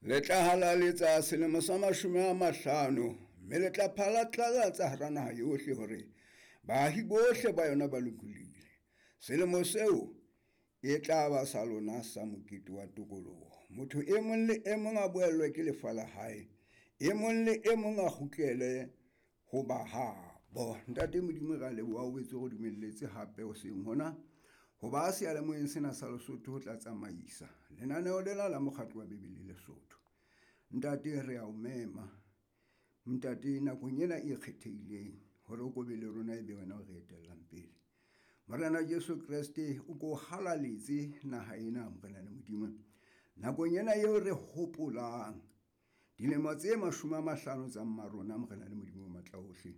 Le tla halaletsa selemo sa 50, mme le tla phatlalatsa hara naha yohle hore baahi bohle ba yona ba lokolohile. Selemo seo e tla ba sa lona sa mokete wa tokoloho. Motho e mong le e mong a boellwe ke lefa la hae, e mong le e mong a kgutlele ho ba habo. Ntate Modimo, re a leboha o boetse o re dumelletse hape hoseng hona ho ba seyalemoyeng sena sa Lesotho ho tla tsamaisa lenaneo lena la mokgatlo wa Bibele Lesotho. Ntate, re a o mema ntate nakong ena e kgethehileng hore o ko be le rona, e be wena o re etellang pele. Morena Jesu Kreste, o ko halaletse naha ena, Morena le Modimo, nakong ena eo re hopolang dilemo tse 50 tsa mmarona, Morena le Modimo o matla ohle.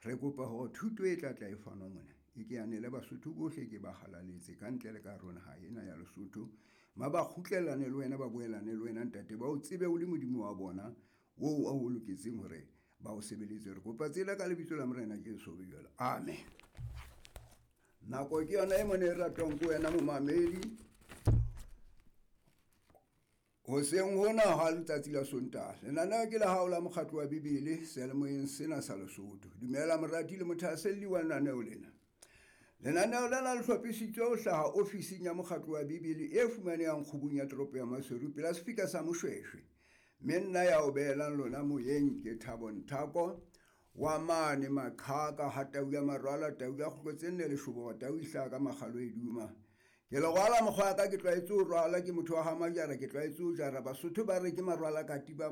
Re kopa hore thuto e tla tla e fanwa mona e ke yanele Basotho bohle, ke ba halaletse ka ntle le ka hare ho naha ena ya Lesotho. Ma ba kgutlellane le wena, ba boelane le wena ntate, ba o tsebe o le Modimo wa bona oo a o loketseng hore ba o sebeletse. Re kopa tsela ka lebitso la Morena Jesu be jwalo, amen. Nako ke yona e mone e ratwang ke wena momamedi. Hoseng hona ha letsatsi la Sontaha, lenaneo ke la hao la mokgatlo wa Bibele seyalemoyeng sena sa Lesotho. Dumela morati le mothahaselli wa lenaneo lena. Lenaneo lena le hlophisitswe ho hlaha ofising ya mokgatlo wa Bibele e fumanehang kgubung ya toropo ya Maseru pela sefika sa Moshweshwe. Mme nna ya o behelang lona moyeng ke Thabo Nthako wa mane Maqhaka ha tau ya marwala, tau ya kgutlo tse nne leshoboro, tau e hlaha ka makgalo e duma. Ke le rwala mokgwa wa ka, ke tlwaetse ho rwala, ke motho wa ha Majara, ke tlwaetse ho jara. Basotho ba re ke marwala katiba.